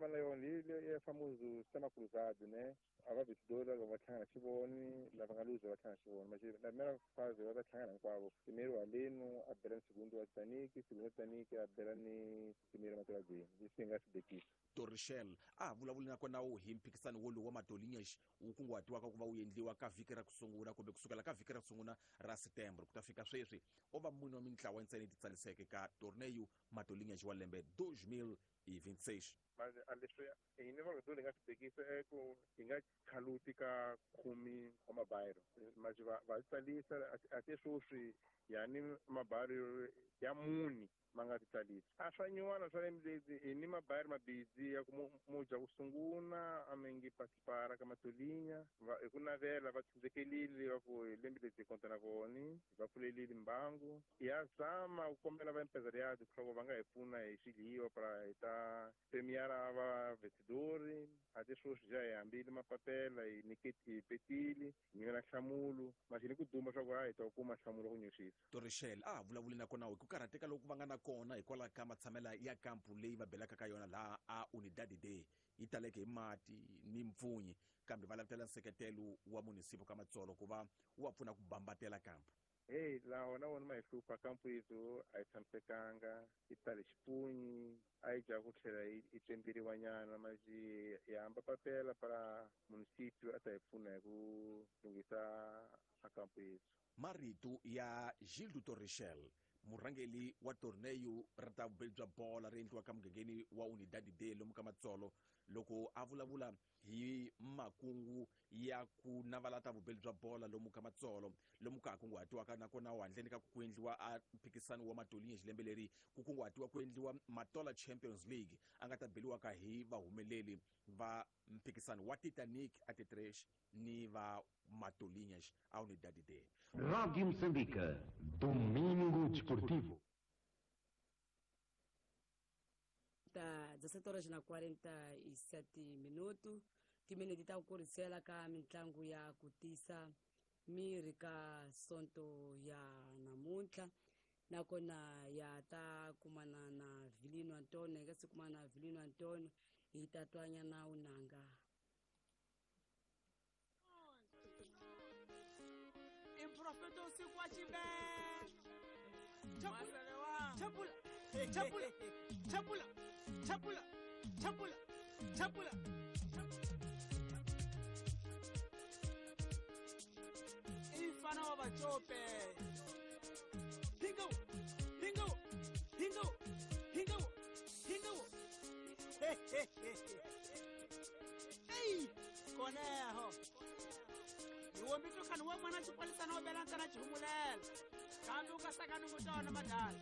Va na yona leyi ya famoso sistema cruzado, ne? A va vencedor va hlangana xivoni, lava nga luza va hlangana xivoni. Mas na primeira fase va ta hlangana hinkwavo. Primeiro haleno a bela ni segundo wa Titanic, segundo wa Titanic a bela ni primeiro Matoladzeni. Leswi hi nga swi bekisa. Torrichel a ha vulavuli na kona wu hi mphikisano wolowu wa Matolinhas wu kunguhatiwaka ku va wu endliwa ka vhiki ra ku sungula kumbe kusukela ka vhiki ra ku sungula ra Setembro ku ta fika sweswi o va mune wa mintlawa ntsena yi titsariseke ka Torneio Matolinhas wa lembe 2026. Manje a leswi hina va hi nga swi bekisa i ku hi nga khaluti ka khumi wa mabayiro manje va va tsalisa a te sweswi yani mabayiro ya muni ma nga titsalisi a swa nyuwana swa lembe hi ni mabayiro mabidzi ya ku mu dya ku sunguna a mi ngi participara ka Matolinya va hi ku navela va tshundzekelile va ku hi lembe lebyi hi konta na voni va pfulelile mbangu ya zama ku kombela va empresariado leswaku va nga hi pfuna hi swidliwa para hi ta premiara va vencedori a te sweswi ja hi hambile mapapela hi niketi hi petile hi nyikela nhlamulo manje ni ku duma swa ku a hi ta kuma nhlamulo ku nyuxisa. Torrichel a ha vulavuli na kona hi ku karhateka loku va nga na kona hikwalaho ka matshamela ya kampu leyi va belaka ka yona laha a Unidade D yi taleke hi mati ni mpfunyi kambe va lavutela nseketelo wa munisipo ka Matsolo ku va wu va pfuna ku bambatela kampu. Heyi laha wona wona ma hi hlupha kampu yethu a yi tshamisekanga yi tale xipunyi a yi dya ku tlhela yi tsemberiwa nyana manje hi hamba papela para municipio a ta hi pfuna hi ku lunghisa a kampu yethu. Marito ya Gildo Torrichel, murhangeri wa torneyo ra ta vubeli bya bola ri endliwaka mugangeni wa Unidade D lomu ka Matsolo, loko a vulavula hi makungu ya ku navala ta vubeli bya bola lomu ka Matsolo, lomu ka ha kunguhatiwaka nakona handleni ka ku endliwa a mphikisano wa Matolinha xilembe leri ku kunguhatiwa ku endliwa Matola Champions League a nga ta beliwaka hi vahumeleli va mphikisano wa Titanic a Titresh ni va Matolinhas a Unidade D. Radio Moçambique, Domingo Desportivo. Ta 17 horas na 47 minuto timinete ta ku kurisela ka mitlangu ya ku tisa miri ka sonto ya namuntlha nakona ya ta kumana na Vilino Antonio hi nga si kumana na Vilino Antonio hi ta twanyana unanga. Improfeto usiku wa chibe. Chapula, chapula, chapula, chapula, chapula, chapula, chapula. Ifana wa bachope. Hingo, hingo, hingo, hingo, hingo. Hey, conejo. Niwombi khani wa n'wana xipolisana wo bela ntsena xihumulela kambe u nga sakanungu tona madala.